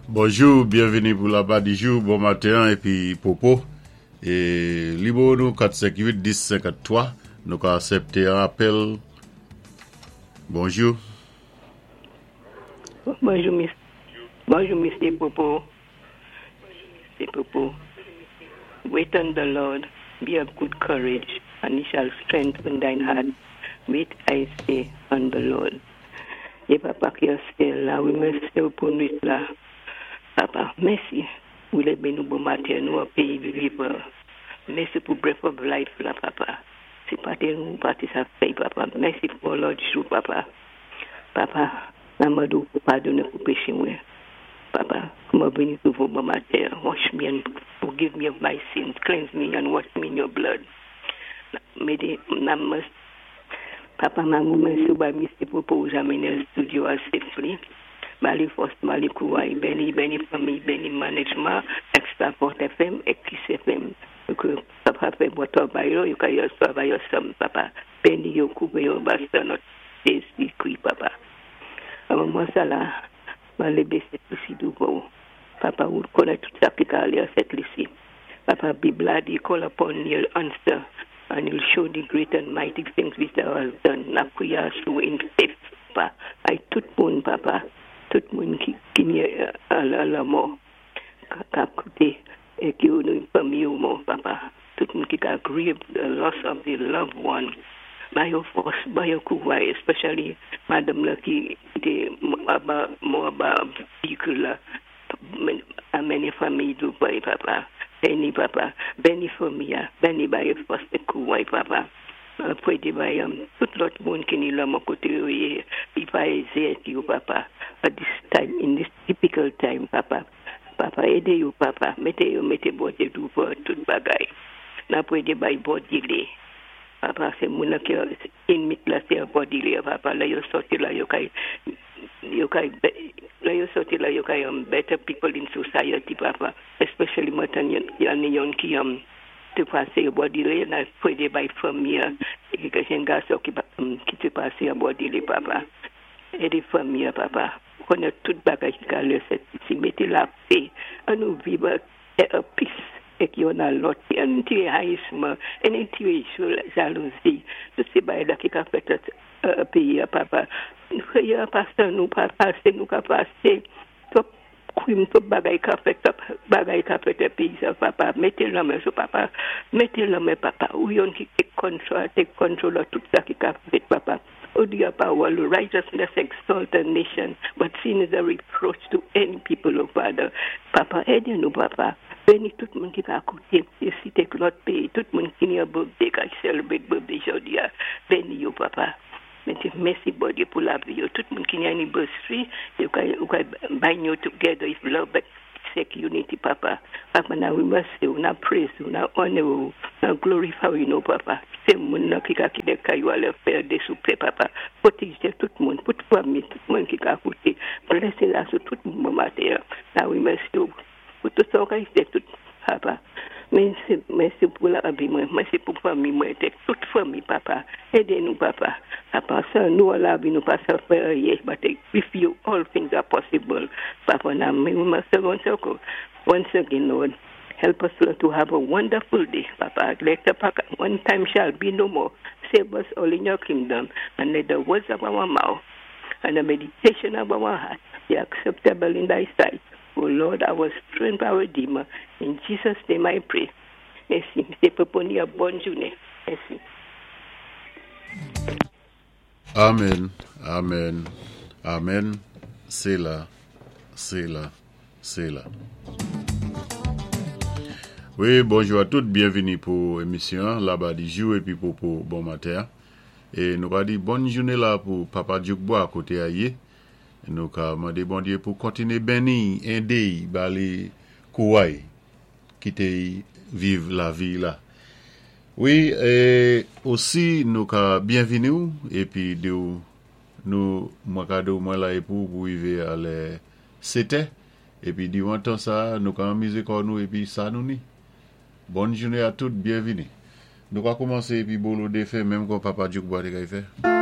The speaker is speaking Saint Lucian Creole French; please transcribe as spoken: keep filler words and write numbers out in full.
Bonjou, byenvini pou Laba Dijou, bon maten épi Popo. É nimewo nou kat senk uit dis senkanntwa, nou ka asèpté yon apèl. Bonjou. Bonjou, mis- bonjou, Mister Popo. Mister Popo. Wait on the Lord, be of good courage, and he shall strengthen thine heart. Wait, I say, on the Lord. É Papa ki an syèl la, wi, mèsi pou nwit la. Papa, mèsi. Ou lévé nou bon maten, nou an péyi vivan. Mèsi pou breath of life la, Papa. Si pa té nou, pa té sa fèy, Papa. Mèsi pou lòt jou, Papa. Papa, n ap mandé pou padoné pou péché mwen. Papa, mwen vini douvan bon maten. Wash me and forgive me of my sins. Cleanse me and wash me in your blood. Mété, nan Papa, mwen bay Mister Popo amené studio a safely. Ba li fòs, ba li kouway, béni, béni fanmi, béni management, Extra Port F M é Kiss F M. Ke Papa fè bon twavay yo, yo ka yo twavay ansanm, Papa. Béni yo, koupé yo, basta nòt Jézi Kri, Papa. A moman sa la, mwen lévé Sent Lisi douvan. Papa, ou konnèt tout sa ki ka alé a Sent Lisi. Papa, Bib la di, "Call upon me, answer, and he'll show the great and mighty things which thou hast done." N ap kwiyé asou in faith, Papa. Ay tout moun, Papa, tout moun ki, ki ni a la lanmò, k ap kouté, é ki nou fanmi ou mò, Papa. Tout moun ki ka grieve the loss of the loved one. Ba yo fòs, ba yo kouway, especially madanm la ki té anba, mò anba vehicle la. Amenné fanmi douvan, Papa. Béni, Papa. Béni fanmi a. Béni ba yo fòs é kouway, Papa. Pwédé bay um, tout lòt moun ki ni lanmò koté yo yé, li pa ézé yo, Papa. At this time, in this difficult time, Papa. Papa, édé yo, Papa. Mété yo, mété Bondyé douvan tout bagay. N ap pwédé bay bodily. Papa, sé moun ki inmate la, sé bodily, Papa. La yo sòti la, yo kay, yo kay, la yo sòti la, yo kay um, better people in society, Papa. Especially matan yon yon ki um, té pasé bodily, n ap pwédé bay fanmi, ki gen gason ki, um, ki té pasé bodily, Papa. Édé fanmi, Papa. Konnèt tout bagay ki ka lé Sent Lisi. Mété lapè, an nou viv an peace épi youn a lòt, an tiré hayisman, an tiré jalouzi, tout sé bagay la ki ka fèt euh, péyi, Papa. Kwiyé pasé nou pa pasé, nou ka pasé. Twòp krim, twòp bagay ka fèt, twòp bagay ka fèt péyi sa, Papa. Mété lanmen sou Papa. Mété lanmen, Papa. Ou youn ki take control, take control of tout sa ki ka fèt, Papa. Ou di an pawòl, "Righteousness exalt a nation, but sin is a reproach to any people," oh Father. Papa, édé nou, Papa. Béni tout moun ki ka kouté, isi é lòt péyi, tout moun ki ni yon birthday, ki celebrate birthday jòdi a. Béni yo, Papa. Mèsi, mèsi, Bondyé, pou lavi yo. Tout moun ki ni anniversary, yo ka, yo ka bind you together if love but seek unity, Papa. Papa, now we must say, now praise you, now honor you, now glorify you, no, Papa. Sé moun nan ki ka kité kay yo alé fè dé soupé, Papa. Pwotéjé tout moun, tout fanmi, tout moun ki ka kouté. Blessing la sou tout moun maten. Now we must you. Pou tout sa ka fè tout, Papa. Mèsi, mèsi pou lavi mwen, mèsi pou fanmi mwen, tout fanmi, Papa. Édé nou, Papa. Papa, san nou lavi nou pa sa fè anyen, but with you all things are possible. Papa, now we must once again, once again, Lord, help us, Lord, to have a wonderful day, Papa. Let the one time shall be no more. Save us all in your kingdom, and let the words of our mouth and the meditation of our heart be acceptable in thy sight. O Lord, our strength, our Redeemer. In Jesus' name I pray. Mèsi. Mister Popo, bòn jounen. Mèsi. Amen, amen, amen. Sé la, sé la, sé la. Wi, bonjou a tout, byenvini pou émisyon Laba Dijou épi Popo bon maten. É nou va di bòn jounen la pou Papa Djoukbois koté a yé. Nou ka mandé Bondyé pou kontiné béni, édé, ba li kouway, kité viv lavi la. Wi, é osi nou ka byenvini épi di nou mwen ka di mwen la pou pou rivé a lè sétè épi diwan tan sa nou ka anmizé kò nou épi sa nou ni. Bòn jounen a tout, byenvini. Nou ka kòmansé épi bolo défen menm kon Papa Djoukbois té kay fè.